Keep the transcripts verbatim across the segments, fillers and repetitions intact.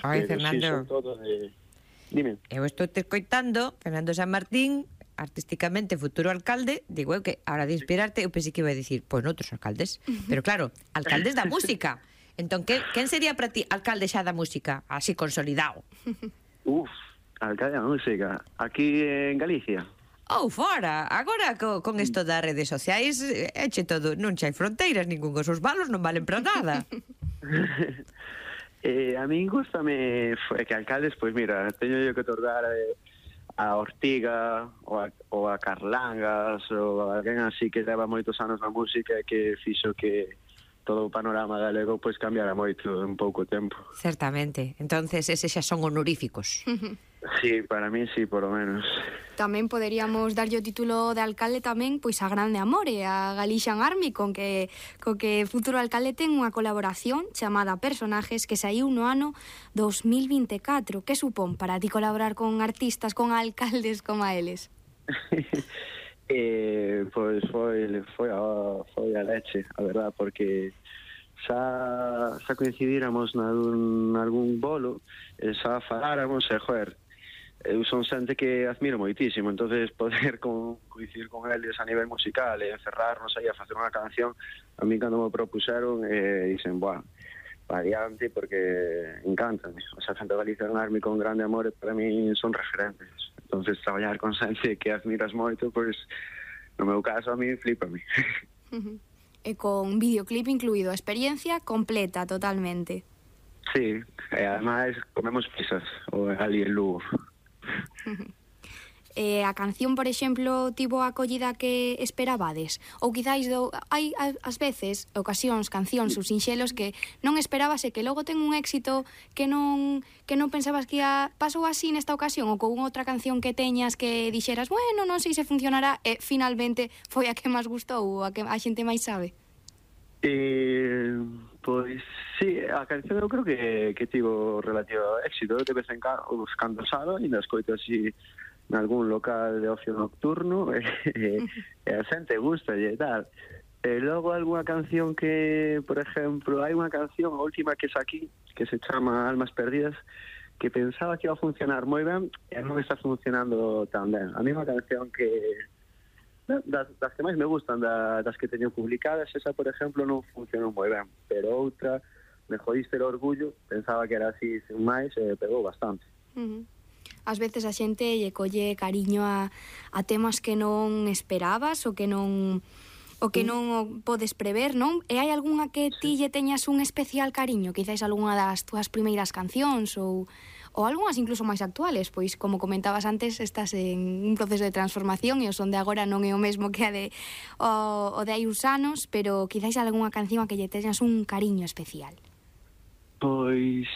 Ai, pero Fernando, sí, son todo de... Dime. eu estou te escoitando, Fernando San Martín, artísticamente futuro alcalde, digo eu que, a hora de inspirarte, eu pensei que iba a dicir, pois pues, noutros alcaldes, pero claro, alcaldes da música. Entón, que, quen sería para ti alcalde xa da música, así consolidado? Uf, alcalde da música. Aquí en Galicia. Ou fora, agora co, con isto das redes sociais, eche todo, non hai fronteiras, ningún os seus balos non valen para nada. eh, a min gustame que alcaldes, pois pues mira, teño yo que otorgar eh, a Ortiga ou a, ou a Carlangas ou a alguén así que leva moitos anos na música e que fixo que todo o panorama galego pois cambiara moito en pouco tempo. Certamente, entonces eses xa son honoríficos. Sí, para mí sí, por lo menos. Tamén poderíamos darlle o título de alcalde tamén pois a Grande Amore, a Galician Army, con que co que futuro alcalde ten unha colaboración chamada Personajes que saiu no ano dos mil vinte e catro. Que supón para ti colaborar con artistas, con alcaldes como a eles? eh, pois foi foi a, foi a leche, a verdad, porque xa, xa coincidíramos nalgún, nalgún bolo e xa faláramos e, joder, eu son xente que admiro moitísimo, entonces poder con, coincidir con eles a nivel musical e encerrarnos aí a facer unha canción, a mí cando me propuseron eh, dicen, buah, variante, porque encantan, o sea, Santa Galicia Army con Grande Amore para mí son referentes, entonces traballar con xente que admiras moito, pois no meu caso a mí flipame. E con videoclip incluído, a experiencia completa totalmente. Sí, e ademais comemos pizzas ou ali en Lugo. Eh, a canción, por exemplo, tivo a acollida que esperabades? Ou quizáis do, hai ás veces, ocasións, cancións ou sinxelos que non esperabas e que logo ten un éxito que non que non pensabas que ia... Pasou así nesta ocasión ou con outra canción que teñas que dixeras, bueno, non sei se funcionará e finalmente foi a que máis gustou ou a que a xente máis sabe? Eh, pois sí, a canción eu creo que, que tivo relativo éxito. De vez en cando, cando salo, ainda escoito así nalgún local de ocio nocturno e, e a xente gusta e tal. E logo algunha canción que, por exemplo, hai unha canción, a última que saquí, que se chama Almas Perdidas, que pensaba que iba a funcionar moi ben e non está funcionando tan ben. A mí unha canción que das, das que máis me gustan, da, das que teño publicadas, esa, por exemplo, non funcionou moi ben, pero outra, Me Jodiste el Orgullo, pensaba que era así sin máis e pegou bastante. Uh-huh. Ás veces a xente lle colle cariño a, a temas que non esperabas ou que non o que non podes prever, non? E hai algunha que ti lle teñas un especial cariño? Quizáis algunha das túas primeiras cancións ou, ou algunhas incluso máis actuales? Pois, como comentabas antes, estás en un proceso de transformación e o son de agora non é o mesmo que a de o, o de hai uns anos, pero quizáis algunha canción a que lle teñas un cariño especial. Pois,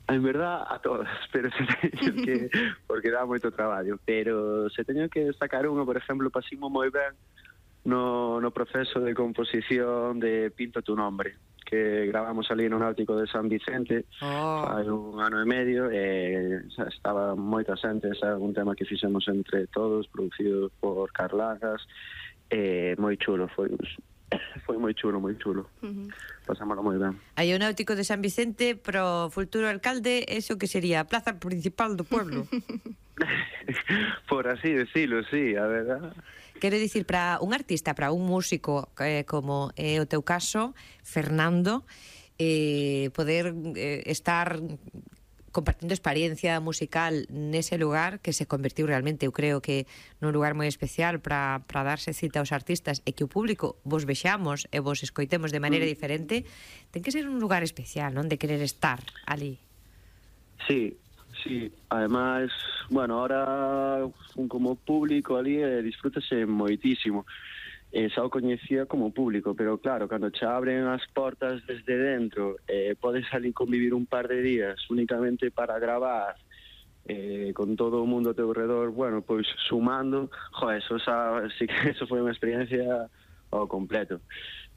en verdad, a todas, pero se teño que, porque dá moito traballo, pero se teño que destacar unha, por exemplo, pasimo moi ben no, no proceso de composición de Pinto tu nombre, que gravamos ali no Náutico de San Vicente, oh. hai un ano e medio, e xa, estaba moita xente, xa, un tema que fixemos entre todos, producido por Carlangas, e moi chulo, foi foi moi chulo, moi chulo. Uh-huh. Pasámoslo moi ben. Hai o Náutico de San Vicente pro futuro alcalde, eso que sería a plaza principal do pueblo. Por así decirlo, sí, a verdad. Quero dicir, para un artista, para un músico eh, como é o teu caso, Fernando, eh, poder eh, estar compartindo experiencia musical nese lugar que se convertiu realmente, eu creo que nun lugar moi especial para para darse cita aos artistas e que o público vos vexamos e vos escoitemos de maneira diferente, ten que ser un lugar especial, non? De querer estar ali. Sí, sí, además, bueno, ahora como público ali eh, disfrútase moitísimo. Eh, xa o coñecía como público, pero claro, cando che abren as portas desde dentro, eh, podes salir convivir un par de días únicamente para gravar, eh, con todo o mundo a teu redor, bueno, pois sumando, jo, eso, xa, sí que eso foi unha experiencia ao completo.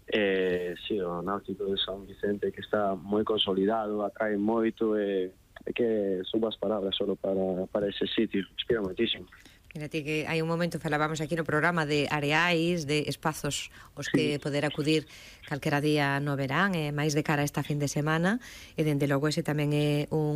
Eh, sí, o Náutico de San Vicente, que está moi consolidado, atrae moito, e eh, que subo as palabras solo para, para ese sitio, inspira moitísimo. Mírate que hai un momento falábamos aquí no programa de areais, de espazos os que sí. poder acudir calquera día no verán, e máis de cara a esta fin de semana, e dende logo ese tamén é un